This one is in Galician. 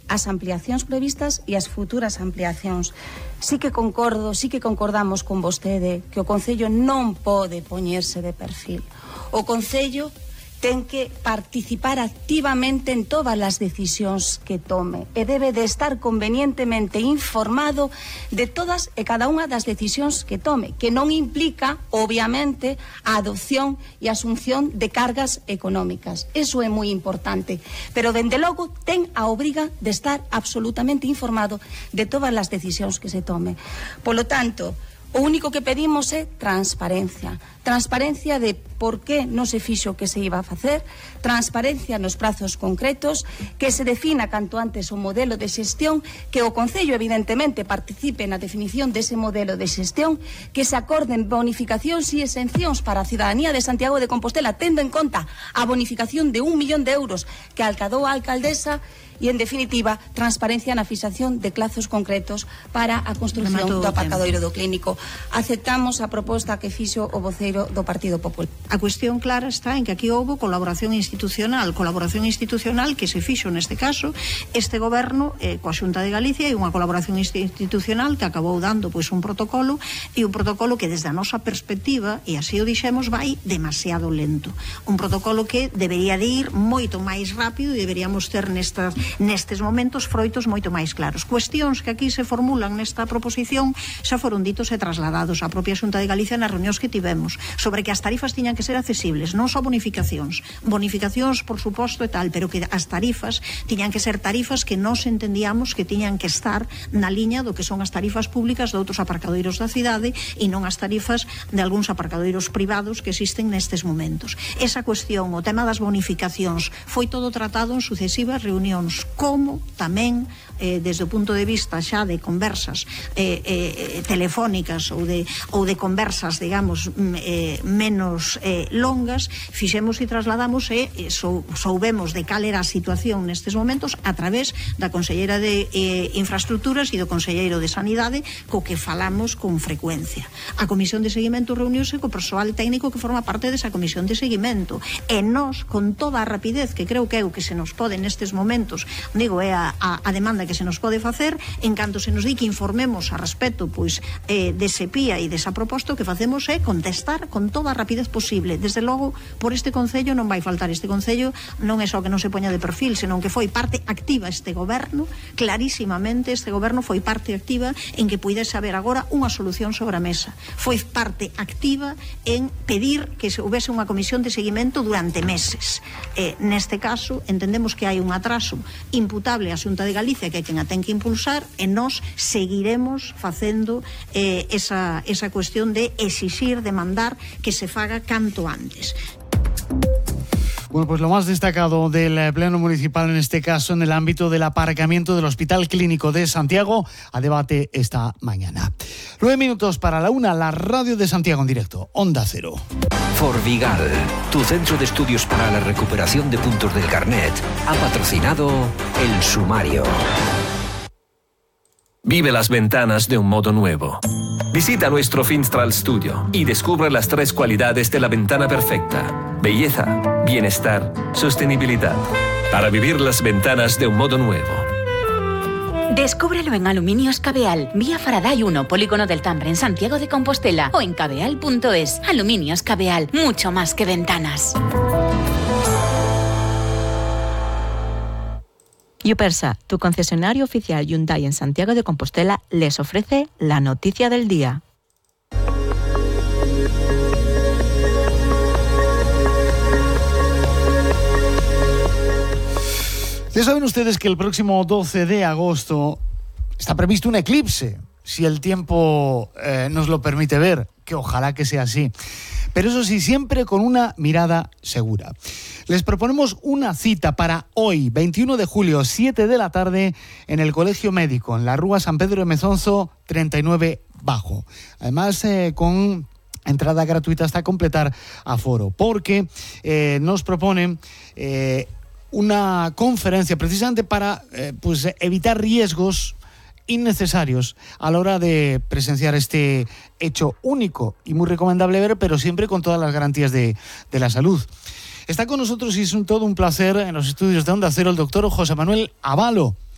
as ampliacións previstas e as futuras ampliacións. Sí que concordamos con vostede que o Concello non pode poñerse de perfil. O Concello ten que participar activamente en todas as decisións que tome e debe de estar convenientemente informado de todas e cada unha das decisións que tome, que non implica, obviamente, a adopción e asunción de cargas económicas. Eso é moi importante, pero dende logo ten a obriga de estar absolutamente informado de todas as decisións que se tome. Polo tanto, o único que pedimos é transparencia. Transparencia de por que non se fixo o que se iba a facer, transparencia nos prazos concretos, que se defina canto antes o modelo de xestión, que o Concello evidentemente participe na definición dese modelo de xestión, que se acorden bonificacións e exencións para a cidadanía de Santiago de Compostela, tendo en conta a bonificación de 1 millón de euros que alcadou a alcaldesa, e, en definitiva, transparencia na fixación de plazos concretos para a construción do aparcadoiro do Clínico. Aceptamos a proposta que fixo o voceiro do Partido Popular. A cuestión clara está en que aquí houve colaboración institucional que se fixo neste caso este goberno coa Xunta de Galicia, e unha colaboración institucional que acabou dando un protocolo, e un protocolo que desde a nosa perspectiva, e así o dixemos, vai demasiado lento. Un protocolo que debería de ir moito máis rápido e deberíamos ter nestes momentos froitos moito máis claros. Cuestións que aquí se formulan nesta proposición xa foron ditos e trasladados á propia Xunta de Galicia nas reunións que tivemos, sobre que as tarifas tiñan que ser accesibles, non só bonificacións, por suposto e tal, pero que as tarifas tiñan que ser tarifas que nós entendíamos que tiñan que estar na liña do que son as tarifas públicas de outros aparcadoiros da cidade e non as tarifas de algúns aparcadoiros privados que existen nestes momentos. Esa cuestión, o tema das bonificacións, foi todo tratado en sucesivas reunións, como tamén desde o punto de vista xa de conversas telefónicas ou de conversas, digamos, menos longas, fixemos e trasladamos e soubemos de cal era a situación nestes momentos a través da Conselleira de Infraestructuras e do Conselleiro de Sanidade, co que falamos con frecuencia. A Comisión de Seguimento reuniuse co persoal técnico que forma parte desa Comisión de Seguimento, e nós, con toda a rapidez que creo que é o que se nos pode nestes momentos, digo, é a demanda que se nos pode facer, en canto se nos di que informemos a respecto dese PIA e desa proposta, o que facemos é contestar con toda a rapidez posible. Desde logo, por este Concello non vai faltar. Este Concello non é só que non se poña de perfil, senón que foi parte activa este goberno, clarísimamente este goberno foi parte activa en que puidese haber agora unha solución sobre a mesa. Foi parte activa en pedir que se houvese unha comisión de seguimento durante meses. Neste caso, entendemos que hai un atraso imputable á Xunta de Galicia, que é quen a ten que impulsar, e nós seguiremos facendo esa cuestión de exixir, demandar que se faga canto antes. Bueno, pues lo más destacado del Pleno Municipal, en este caso en el ámbito del aparcamiento del Hospital Clínico de Santiago, a debate esta mañana. 9 minutos para la 1, la radio de Santiago en directo, Onda Cero. Forvigal, tu centro de estudios para la recuperación de puntos del carnet, ha patrocinado El Sumario. Vive las ventanas de un modo nuevo. Visita nuestro Finstral Studio y descubre las 3 cualidades de la ventana perfecta: belleza, bienestar, sostenibilidad. Para vivir las ventanas de un modo nuevo. Descúbrelo en Aluminios Cabeal, vía Faraday 1, Polígono del Tambre, en Santiago de Compostela, o en cabeal.es. Aluminios Cabeal, mucho más que ventanas. Yupersa, tu concesionario oficial Hyundai en Santiago de Compostela, les ofrece la noticia del día. Ya saben ustedes que el próximo 12 de agosto está previsto un eclipse, si el tiempo nos lo permite ver, que ojalá que sea así. Pero eso sí, siempre con una mirada segura. Les proponemos una cita para hoy, 21 de julio, 7 de la tarde, en el Colegio Médico, en la Rúa San Pedro de Mezonzo, 39 Bajo. Además, con entrada gratuita hasta completar aforo, porque nos proponen una conferencia precisamente para evitar riesgos innecesarios a la hora de presenciar este hecho único y muy recomendable ver, pero siempre con todas las garantías de la salud. Está con nosotros y es todo un placer en los estudios de Onda Cero el doctor José Manuel Abalo.